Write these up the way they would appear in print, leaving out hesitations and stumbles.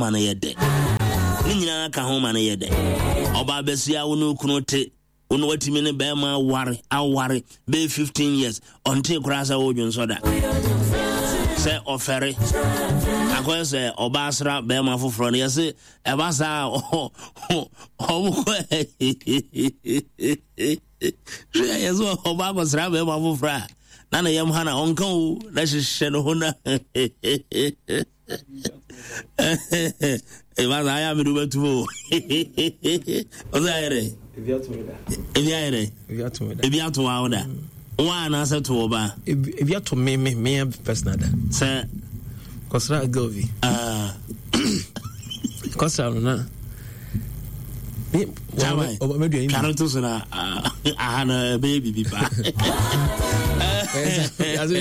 ma no yɛ dɛ. Ne nyinaa ka ho ma no yɛ dɛ. Ɔbaa bɛsia wo ne wo kunu te, wo ne watumi ne bɛrima aware aware bɛyɛ 15 years, ɔntee koraa sɛ wodwonsɔ da. Sɛ ɔfɛre akɔyɛ sɛ ɔbaa sra bɛrima foforɔ no yɛse ɛba saa ɔmo kɔ hwɛ yɛ sɛ ɔbaa kɔsra bɛrima foforɔ a na ne yam ha na ɔnka o na hyehyɛ ne ho na ɛba saa ayɛ a mede wobɛtom o ɔsɛ ayɛ dɛ ebi ayɛ dɛ ebi ato wa wo da wa anaasɛ to wɔ ba ebi ato me me me personal da sɛ kɔsra girl bi ah. kɔsra no na Twa to so na ah, aha no ɛbɛyɛ biribi paa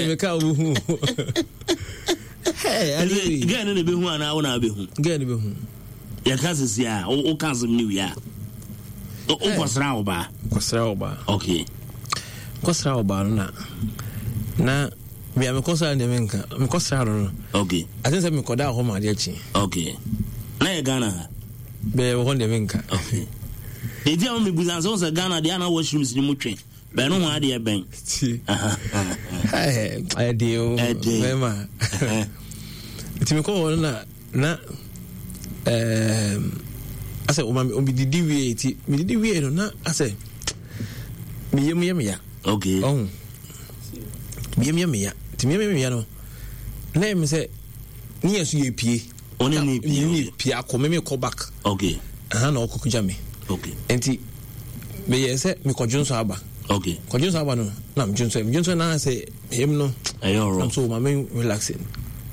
meka wohu Gɛɛ no na ɛbɛhu anaa wo na wobɛhu? Gɛɛ no bɛhu. Yɛka sisi a woka asɛm no wie a wokɔsra wo baa? Kɔsra wo baa. Okay. Kɔsra wo baa no na na bia mekɔsra no deɛ menka mekɔsra no no. Okay. Ate sɛ mekɔda hɔ ma adeɛ kye. Okay. Na yɛ Ghana ha? Bɛyɛ wɔ hɔ deɛ menka. Okay. Ɛti a mebusa sɛ wo sɛ Ghana deɛ ana washrooms no mu twe. Bɛn no ho adeɛ bɛn. Ɛdeɛ o bɛma. Nti mekɔ hɔ no na na asɛ ɔma medidi wie nti medidi wie no na asɛ meyam yɛ meya. Okay. Ɔho meyam yɛ meya nti meyam yɛ meya no na ɛmi sɛ ne yɛ so yɛ pie. Ɔne ne pie. Ne pie akɔ me mekɔ back. Okay. Aha na ɔkɔ kogya me. Okay. Nti meyɛ sɛ mekɔdwo nso aba. Okay. Kɔdwo nso aba no na medwo nso medwo nso na sɛ meyam no. Ɛyɛ ɔrɔ. Na so ma me relax.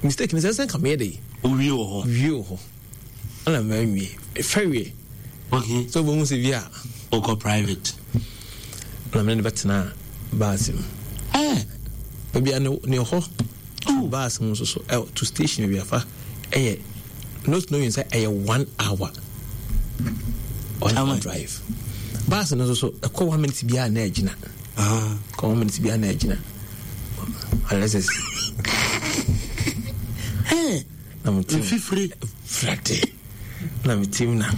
Mistake ne sɛ sɛ nka meyɛ de. Owie wɔ hɔ. Wie wɔ hɔ. Ɛna manwie. Fɛ wie. Okay. So bohu sɛ bi a. Okɔ private. Na mene ne bɛtena baasi mu. Eh. Baabi a ne hɔ. To bus mu nso so ɛ to station baabi afa ɛyɛ not knowing sɛ ɛyɛ one hour one hour drive bus no nso so ɛkɔ one minute biara na ɛgyina kɔ one minute biara na ɛgyina alexis na mo ti mfifiri frate na me tim na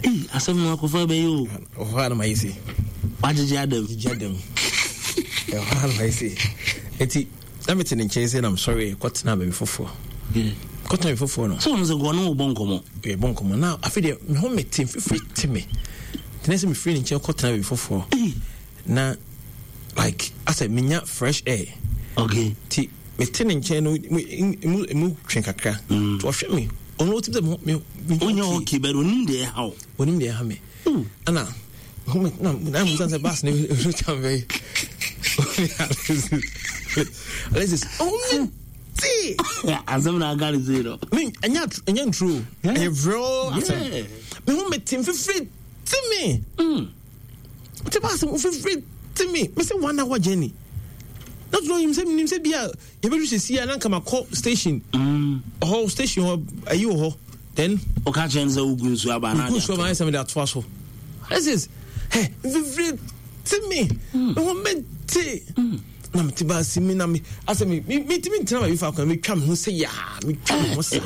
Ei, asɛm no akɔfa bɛyɛ o. Ɛhɔ a na mayɛ sei. Wagyegye adam. Gyegye adam. Ɛhɔ a na mayɛ sei. Eti na mete ne nkyɛn sɛ na mesɔre kɔtena baabi foforɔ. Kɔtena baabi foforɔ no. Sɛ ɔno sɛ nkɔɔ ne wo bɔ nkɔmmɔ. Yɛbɔ nkɔmmɔ na afei deɛ me ho mete mfifiri te me. Tena sɛ mefiri ne nkyɛn kɔtena baabi foforɔ. Na like asɛ menya fresh air. Okay. Ti mete ne nkyɛn no mu mu twe kakra. Mm. Ɔhwɛ me ɔno ɔtumi sɛ me me Onyɛ okay but onim deɛ ɛha wo. Onim deɛ ɛha me. Ɛna na na mu sɛ bus ne no tam bɛyi. Alexis oh me ti. Asɛm na aka ne sei no. Me ɛnyɛ ɛnyɛ nturo ɛyɛ real asɛm. Me ho me te mfifiri ti me. Mm. Te bus mu mfifiri ti me. Me sɛ one hour journey. Na tunu nim sɛ nim sɛ bi a yɛbɛdu sɛsi a na nka makɔ station ɔhɔ station hɔ ayi wɔ hɔ then ɔka kyerɛ no sɛ wogu nsuo aba na wogu nsuo aba na sɛ mede atoa so this is hɛ mfifiri te me me ho mete na mete baasi mi na me asɛ me metumi ntena baabi faako na metwa me ho sɛ yaa metwa me ho saa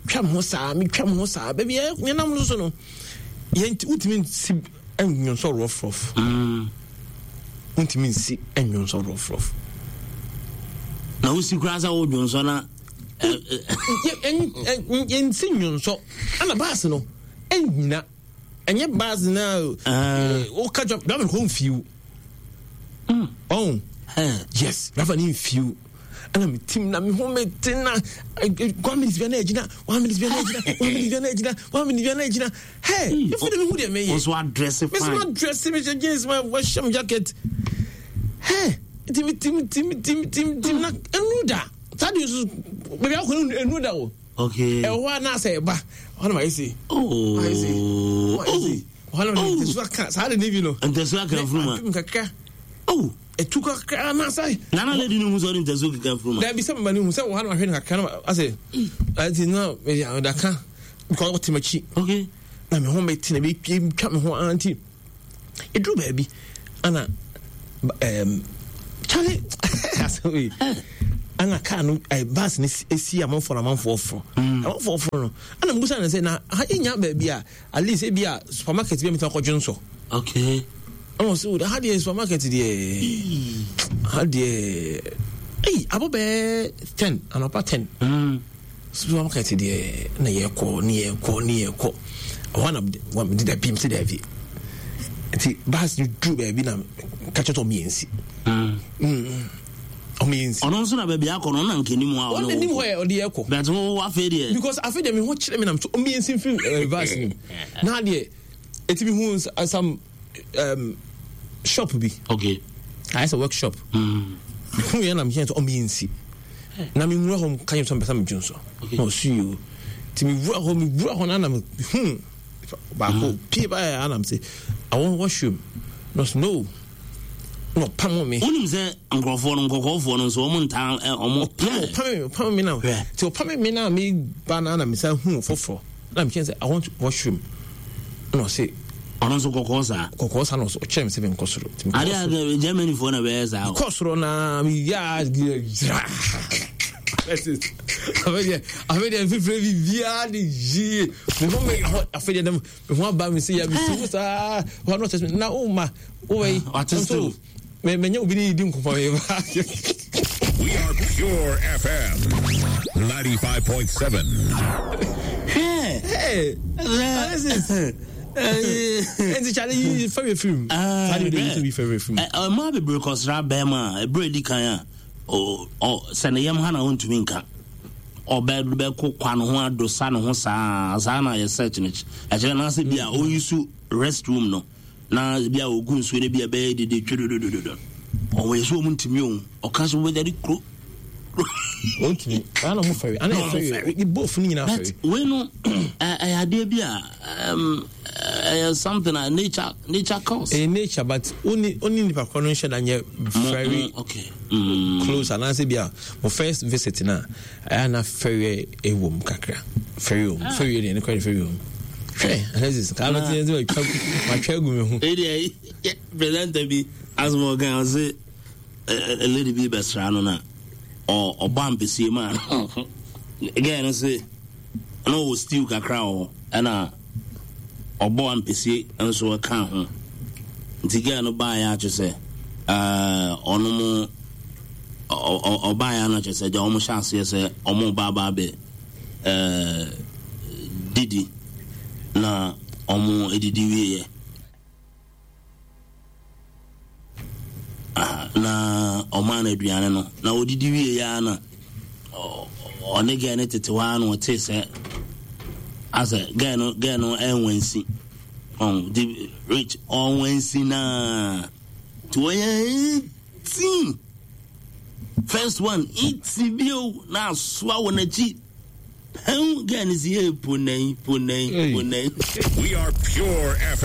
twa me ho saa metwa me ho saa baabi yɛnam no so no yɛn wotumi nsi nnwonsɔ rɔfrɔf wontumi nsi nnwonsɔ rɔfrɔf na wosi koraa sɛ wodwonsɔ na yɛnsi nnwonsɔ ana baase no ɛnyina ɛnyɛ baase no a woka dwa driver no kɔ mfiw ɔn yes driver no mfiw ɛna me tim na me ho me te na one minute bia na agyina one minute bia na agyina one minute bia na agyina one minute bia na agyina hey efi de me hu deɛ meyɛ nso adrɛse fine me nso adrɛse me hyɛ jeans ma wɔhyɛ me jacket hey nti me tim tim tim tim tim na enu da saa de nso baabi akɔ no enu da o okay ɛwɔ hɔ a na asɛ ɛba hɔ na ma yɛ se oh ma yɛ se ma yɛ se hɔ na ma yɛ ntɛsu aka saa de ne bi no ntɛsu aka furuma kakra oh Etu kakra na sɛ. Nana lady no hu sɛ ɔde ntasuo keka mfuruma. Dabi sɛ mama no hu sɛ wɔ ha na mahwɛ no kakra na asɛ ati na mede ka because ɔte m'akyi. Okay. Na me ho mete na metwa me ho ara nti ɛduru baabi ana um, kyale asɛ wei. Ɛna kaa no ɛɛ bus no si amanfoɔ na amanfoɔ foro. Mm. Amanfoɔ foro no ɛna mbusa no sɛ na ha yɛnya baabi a at least ebi a supermarket bi a metumi akɔdwo nsɔ. Okay. Ɛna ɔsɛ o ha deɛ supermarket deɛ ha deɛ ɛyi abɔ bɛɛ 10 anɔpa 10. Mm. Supermarket deɛ na yɛkɔ ne yɛkɔ ne yɛkɔ ɛhɔ na mede dabi mese dabi nti bus no duru baabi na ka kyerɛ sɛ ɔmo yɛ nsi ɔmo yɛ nsi ɔno nso na baabi akɔ no ɔna nka anim hɔ a ɔno anim hɔ yɛ ɔde yɛ kɔ but wo afei deɛ because afei deɛ me ho kyerɛ me nam so ɔmo yɛ nsi mfiri eh, bus no na deɛ ɛtumi hu some shop bi. Okay. Ayɛ sɛ workshop. Mm. Mehu yɛ na mehyɛ sɛ ɔmo yɛ nsi. Na me nwura hɔ ka yɛ sɛ mpɛ sɛ medwo nso. Na ɔsu yi o. Nti me wura hɔ me wura hɔ na na mehu baako mm. pie ba yɛ anam sɛ I want washroom. Na ɔsɛ no. Na ɔpam me. Wonim sɛ nkurɔfoɔ no nkɔkɔɔfoɔ no nso ɔmo ntaa ɔmo. Ɔpam me ɔpam me na. Nti ɔpam me na me ba na na mesan hu foforɔ. Na mekyerɛ sɛ I want washroom. Na ɔse. Ɔno nso kɔkɔɔ saa. Kɔkɔɔ saa na ɔse ɔkyerɛ me sɛ menkɔ soro. Ade a Germany foɔ na bɛyɛ saa. Kɔ soro na meyɛ a gyira. Afei deɛ afei deɛ mfifire biribiara de yie. Me ho me ho afei deɛ me ho aba me se ya me si mu saa. Hɔ no ɔkyerɛ na wo ma wo wei. Nso me me nye obi ne di nkɔmɔ me ba. We are Pure FM 95.7. Hey, hey, Alexis. Nti kyale yi fɛwɛ film. Saa de yi bi fɛwɛ film. Mmaa bebree kɔsra bɛrima a ebere di kan a sɛ ne yam ha na ɔntumi nka ɔbɛ bɛko kwa ne ho adosa ne ho saa saa na yɛ search no ɛkyerɛ n'asɛ bi a ɔyi so rest room no. Na bi a ogu nsuo no bi a ɛbɛyɛ dede twedodododo. Ɔwɔ yɛ so wɔn ntumi o. Ɔka so wɔbɛgya de kuro. Wɔn ntumi. Ana wɔn fɛre. Ana yɛ fɛre. Ni both ni nyinaa fɛre. But wei no ɛyɛ adeɛ bi a ɛyɛ something a nature nature cause. Ɛyɛ nature but oni oni nipa korɔ no nhyɛ da nyɛ very okay. close anaasɛ bi a mo first visit na. Ɛyɛ a na fɛreɛ wɔ mu kakra. Fɛreɛ wɔ mu. Ah. Fɛreɛ deɛ ne kora de fɛreɛ wɔ mu. Hwɛ, Alexis, kaa bɛte yɛn sɛ matwa matwa agu me ho. Eyi deɛ presenter bi asoma ɔkan ɔse lady bi bɛsra no na ɔbɔ ampesie maa no. Girl no se na ɔwɔ stew kakra wɔ hɔ ɛna ɔbɔ ampesie nso ɛka ho. Nti girl no baeɛ akyɛ sɛ ɔno mo ɔbaeɛ a na kyerɛ sɛ agya wɔn hyɛ aseɛ sɛ wɔn ba aba abɛ ɛɛ didi na wɔn didi wieɛ na ɔmaa no aduane no na ɔdidi wieɛ a na ɔne gɛɛ no tete hɔ a na ɔte sɛ asɛ gɛɛ no gɛɛ no ɛnwansi ɔn di rich ɔnwansi naa nti wɔyɛ Tea. First one, iti bio na asoa wɔ n'akyi. Pɛn girl no si hey ponai ponai ponai. We are Pure FM.